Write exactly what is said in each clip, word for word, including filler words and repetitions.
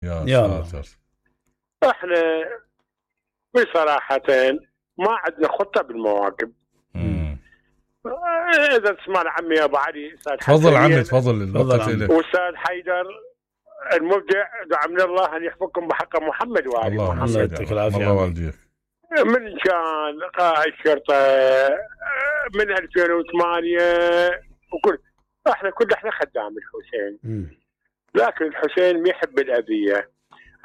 يا, يا ساتر. احنا بصراحة ما عندنا خطة بالمواكب. مم. اذا تسمع عمي ابو علي استاذ تفضل عمي تفضل الوقت عمي. لك. واستاذ حيدر المبدع، دعا من الله ان يحفظكم بحق محمد وآل الله محمد. يعطيك العافية. الله والديك. من كان قائد شرطة من ألفين وثمانية وكل احنا كل احنا خدام الحسين. مم. لكن الحسين ما يحب الأذية،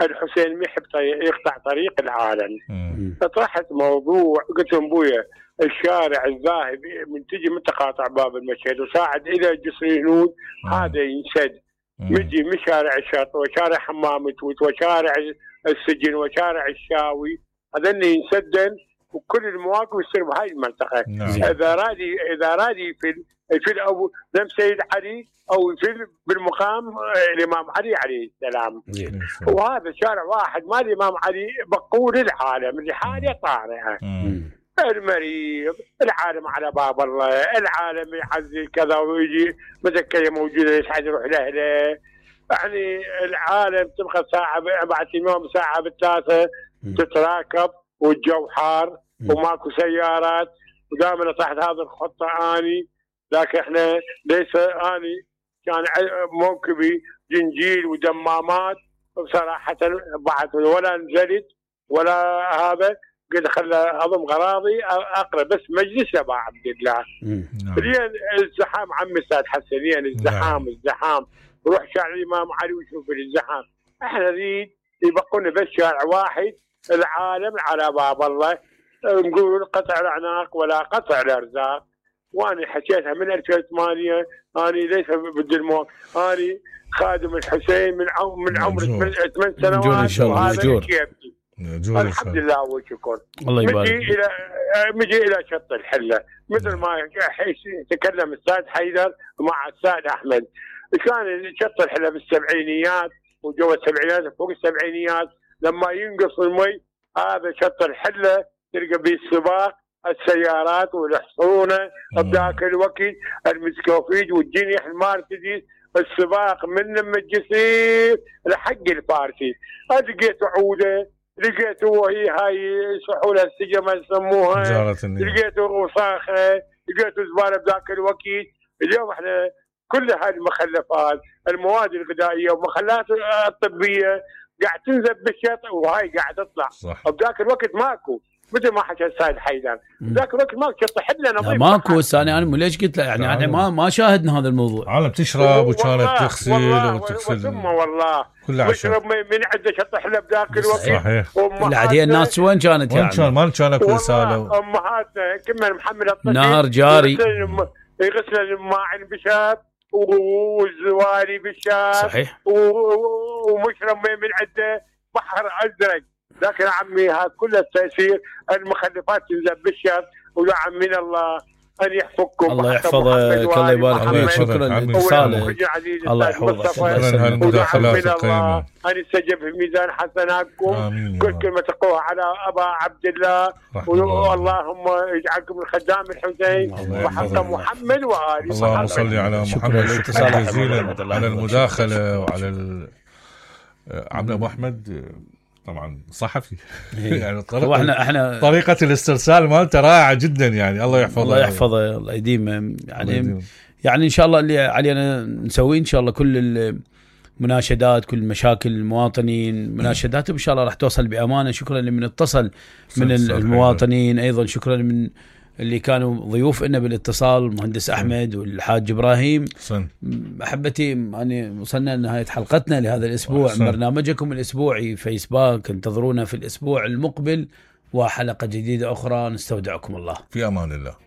الحسين ما يحب يقطع طريق العالم. مم. طرحت موضوع قلت لهم بويا الشارع الذاهب من تجي من تقاطع باب المشهد وصاعد الى جسر الهنود هذا ينسد. مجي من شارع الشرطة وشارع حمام توت وشارع السجن وشارع الشاوي هذا ينسدن، وكل المواقف يصير بهاي المنطقة. نعم. اذا رادي اذا رادي في في او نم سيد علي او في بالمقام الامام علي عليه السلام. زين. وهذا شارع واحد ما الامام علي بقول العالم لحاله طارئه. مم. المريض العالم على باب الله، العالم يعزي كذا ويجي مذكره موجوده يسعد يروح لاهله. يعني العالم تبقى ساعه بعد يوم ساعه بالثلاثه تتراكب والجو حار وماكو سيارات ودائما تحت هذه الخطه اني. لكن احنا ليس اني كان موكبي جنجيل ودمامات بصراحه بعد ولا نزلت ولا هذا قد خلى اضم غراضي اقرا بس مجلس ابا عبد الله. لين الزحام عمي استاذ حسن لين الزحام الزحام روح شارع الامام علي وشوف الزحام. احنا نريد يبقون بس شارع واحد العالم على باب الله، نقول قطع الاعناق ولا قطع الارزاق. وانا حكيتها من ألفين وثمانية اني ليس بدي الموت، اني خادم الحسين من عمر من عمر ثمان سنوات وهذا كيفي. الحمد لله والشكر. الله يبارك. مجي الى مجي الى شط الحله مثل ما تكلم الاستاذ حيدر مع الاستاذ احمد. كان شط الحله بالسبعينيات وجو السبعينيات فوق السبعينيات لما ينقص المي هذا شط الحله تلقى به السباق السيارات والحصونه بذاك الوقت المسكوفيج والجنيح المارسيدس السباق من لما الجسير لحق الفارسي. لقيت عوده لقيته وهي هاي سحولة السجمة يسموها، لقيته وصاخة، لقيته زبالة بذاك الوقت. اليوم احنا كل هاي المخلفات المواد الغذائية والمخلات الطبية قاعد تنزل بالشط وهاي قاعد تطلع. بذاك الوقت ماكو مثل ما حكى السيد حيدر ذاك الوقت ماكو شط حله نظيف ماكو. الثاني انا ليش قلت له يعني احنا ما ما شاهدنا هذا الموضوع. عالم تشرب وكانت تغسل وتغسل ثم والله تشرب من عنده شط حله بذاك الوقت. صحيح. لا هي الناس وين كانت يعني؟ وين كان ما كان اكو رساله. امهاتنا كنا محمل الطفل نهر جاري يغسل الماعن بشاب والزواري بالشاب صحيح ومشرب من عنده بحر ازرق. لكن عمي هذا كل التأثير المخلفات تنزل بالشر ودعم من الله أن يحفظكم. الله يحفظك الله يبارك فيك. شكرا لاتصالك الله يحفظك. شكرا هالمداخلات القيمة أن يستجب في ميزان حسناتكم. كل كلمة تقوها على أبا عبد الله اللهم يجعلكم من خدام الحسين وحق محمد وآله. اللهم صل على محمد. شكرا جزيلا على المداخلة وعلى عم أبو أحمد طبعا صحفي يعني طريقة احنا احنا طريقه الاسترسال مالته رائعه جدا يعني. الله يحفظه الله يحفظه الله يديمه يعني. يعني ان شاء الله اللي علينا نسويه ان شاء الله كل المناشدات كل مشاكل المواطنين مناشدات ان شاء الله راح توصل بامانه. شكرا لمن اتصل من المواطنين، ايضا شكرا من اللي كانوا ضيوف لنا بالاتصال المهندس احمد والحاج ابراهيم. صن. احبتي يعني وصلنا لنهايه حلقتنا لهذا الاسبوع. صن. برنامجكم الاسبوعي فيسباك انتظرونا في الاسبوع المقبل وحلقه جديده اخرى. نستودعكم الله. في امان الله.